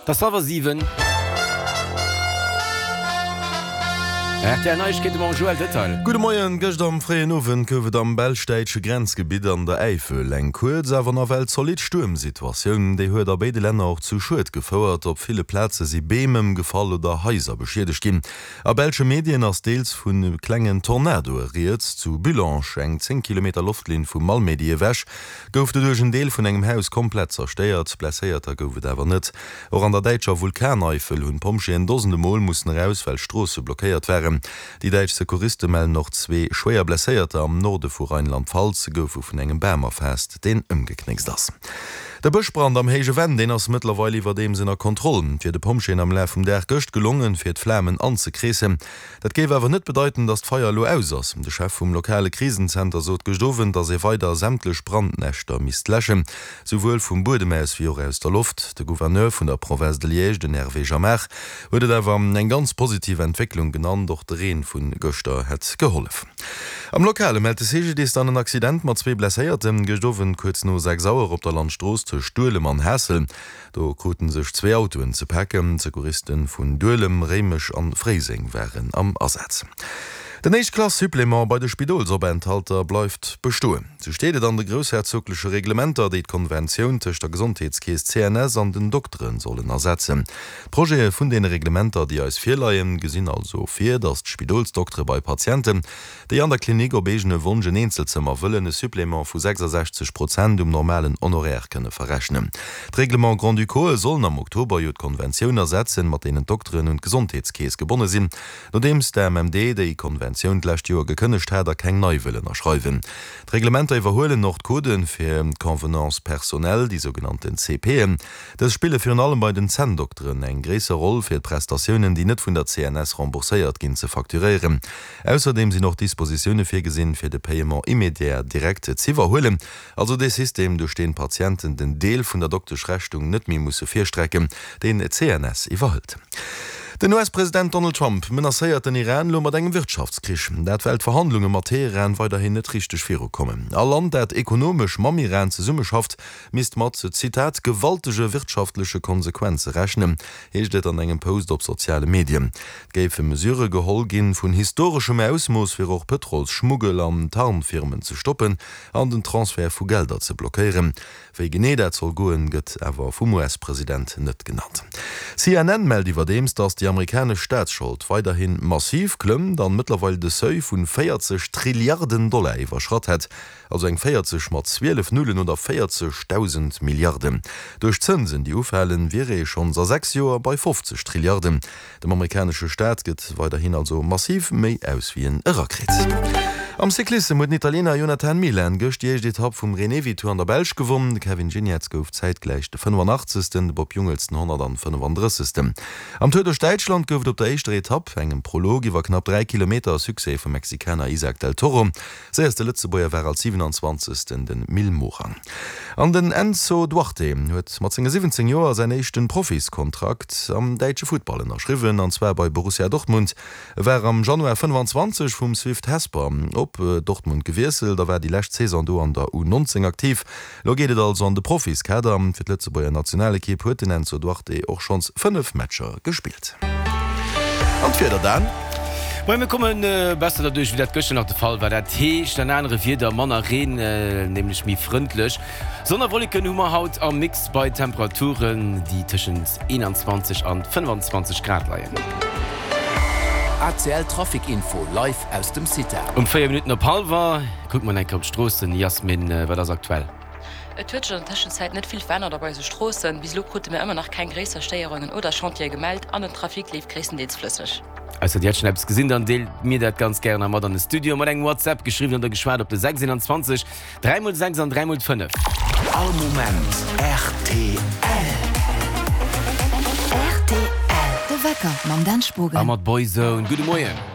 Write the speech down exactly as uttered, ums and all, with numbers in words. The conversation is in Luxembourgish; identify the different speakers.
Speaker 1: Et ass hallwer siwen. Rtl Neiegkeete mam Joël Detail.
Speaker 2: Gudde Moien, Gëscht am fréien Owend gouf et am belsch-däitsche Grenzgebitt an der Äifel eng kuerz, awer nawell zolidd Stuermsituatioun. Déi huet a béide Länner och zu Schued gefouert. Op ville Plaze si Beem ëmgefall oder Haiser beschiedegt ginn. A belsche Medien ass deels vu klengen Tornadoe rieds. Zu Bullange, eng zéng Kilometer Loftlinn vu Malmedy ewech, gouf doduerch en Deel vun engem Haus komplett zerstéiert. Blesséierter gouf et awer net. Och an der däitscher Vulkaneifel hunn d'Pompjeeën dosende Mol mussen eraus, well Stroosse blockéiert waren. Déi däitsch Secouriste mellen och zwee schwéier Blesséierter am Norde vu Rheinland-Pfalz goufe vun engem Bam erfaasst, deen ëmgeknéckst ass. De Bëschbrand am Héije Venn, deen ass mëttlerweil iwwerdeems ënner Kontroll. Et wier de Pompjeeën am Laf vum Dag gëscht gelongen, fir d'Flamen anzekreessen. Dat géif awer net bedeiten, datt d'Feier elo aus ass. De Chef vum lokale Krisenzenter sot gëscht Owend, datt ee weider sämtlech Brandnäschter misst läschen, souwuel vum Buedem aus wéi och aus der Loft. De Gouverneur vun der Province de Liège, den Hervé Jamard, huet et awer eng ganz positiv Entwécklung genannt. Och de Reen vu gëschter hätt gehollef. Am Lokale mellt de C G D I S dann en Accident mat zwee Blesséierten, gëscht Owend kuerz no sechs Auer op der Landstrooss tëscht Duelem an Haassel. Do krute sech zwee Autoen ze paken. D'Secouriste vun Duelem, Réimech an Fréiseng waren am Asaz. Den Éischt-Klass-Supplément bei de Spidolsopenthalter bleift bestoen. Sou steet et an de groussherzogleche Reglementer, déi d'Konventioun tëscht der Gesondheetskeess C N S an den Doktere sollen ersetzen. D'Projete vun deene Reglementer, déi eis virleien, gesinn also vir, datt d'Spidolsdoktere bei Patienten, déi an der Klinik op eegene Wonsch en Eenzelzëmmer wëllen, e Supplément vu sechsasechzeg Prozent um normalen Honoraire kënne verrechnen. D'Règlements grand-ducaux'e sollen am Oktober jo d'Konventioun ersetzen, mat deenen d'Dokteren un d'Gesondheetskeess gebonne sinn, nodeems d'A M M D déi Konventioun d'lescht Joer gekënnegt hat a keng nei wëll ënnerschreiwen. D'Reglementer iwwerhuelen och d'Codë fir d'Convenances personnelles, déi sougenannten C P'en. Dës spille virun allem bei den Zänndokteren eng gréisser Roll, fir d'Prestatiounen, déi net vun der C N S rembourséiert ginn, ze facturéieren. Ausserdeem sinn och Dispositioune virgesinn, fir de Paiement immédiat direct z'iwwerhuelen, also dee System, duerch deen d'Patienten den Deel vun der Dokteschrechnung net méi musse virstrecken, deen d'C N S iwwerhëlt. Den U S-President Donald Trump menacéiert den Iran elo mat engem Wirtschaftskrich. Dat well d'Verhandlunge mat Teheran weiderhin net richteg virukommen. All Land, dat ekonomesch mam Iran zesummeschafft, misst mat, Zitat, gewaltege wirtschaftleche Konsequenze rechnen, heescht et an engem Post op soziale Medien. Et géife Mesurë geholl ginn vun historeschem Ausmooss, fir och Pëtrolsschmuggel an Tarnfirmen ze stoppen an den Transfert vu Gelder ze blockéieren. Wéi genee dat soll goen, gëtt awer vum U S-President net genannt. C N N mellt iwwerdeems, datt déi amerikanesch Staatsschold weiderhi massiv klëmmt an mëttlerweil de Seuil vun véierzeg Trilliarden Dollar iwwerschratt hätt, also eng véierzeg mat zwielef Nullen oder véierzegdausend Milliarden. Duerch d'Zënsen, déi ufalen, wier ee schonns a sechs Joer bei fofzeg Trilliarden. Dem amerikanesche Staat gëtt weiderhin also massiv méi aus wéi en erakritt. Am Cyclissem huet den Italiener Jonathan Milan gëscht déi éischt Etapp vum Renewi Tour an der Belsch gewonn. De Kevin Geniets gouf zäitgläich de fënnefanachtzegsten, de Bob Jungels den honnertfënnefandrëssegsten. Am Tour duerch Däitschland gouf et op der éischter Etapp, engem Prolog iwwer knapp dräi Kilometer, e Succès vum Mexikaner Isaac del Toro. Séierste Lëtzebuerger war als siwenanzwanzegsten de Mil Morang. An den Enzo Duarte huet mat senge siwwenzéng Joer säin éischte Profiskontrakt am däitsche Futtball ënnerschriwwen, an zwar bei Borussia Dortmund. E war am Januar fënnefenzwanzeg vum Swift Hesper op Dortmund gewiesselt a war déi lescht Saison do an der U neunzéng aktiv. Lo geet et also an de Profiskader. Fir d'Lëtzebuerger Nationalekipp huet den Enzo Duarte och schonns fënnef Matcher gespillt. An d'Wieder dann?
Speaker 1: Moien, mir komme besser derduerch wéi dat gëschter nach de Fall war. Dat heescht en anere Wieder, manner Reen, nämlech méi frëndlech. Sonn a Wolleken hu mer haut am Mix bei Temperaturen, déi tëschent eenanzwanzeg an fënnefenzwanzeg Grad leien.
Speaker 3: A C L Trafic Info live aus dem CITA.
Speaker 1: Um véier Minutten op hallwer kucke mer eng Kéier op d'Stroossen. Jasmin, wat ass aktuell?
Speaker 4: Et huet sech an der Tëschenzäit net vill verännert op eise Stroossen. Bis elo krute mir ëmmer nach keng gréisser Stéierungen oder Chantiere gemellt an den Trafic leeft gréisstendeels flësseg.
Speaker 1: Ausser dir hätt schonn eppes gesinn, dann deelt mir dat ganz gären nach mat an de Studio mat engem WhatsApp, geschriwwen oder geschwat op de sechs eenanzwanzeg dräi mol sechs an dräi mol fënnef.
Speaker 3: All Moment R T L.
Speaker 5: R T L, de Wecker mam Dan Spogen.
Speaker 1: A mat Boyzone. Gudde Moien.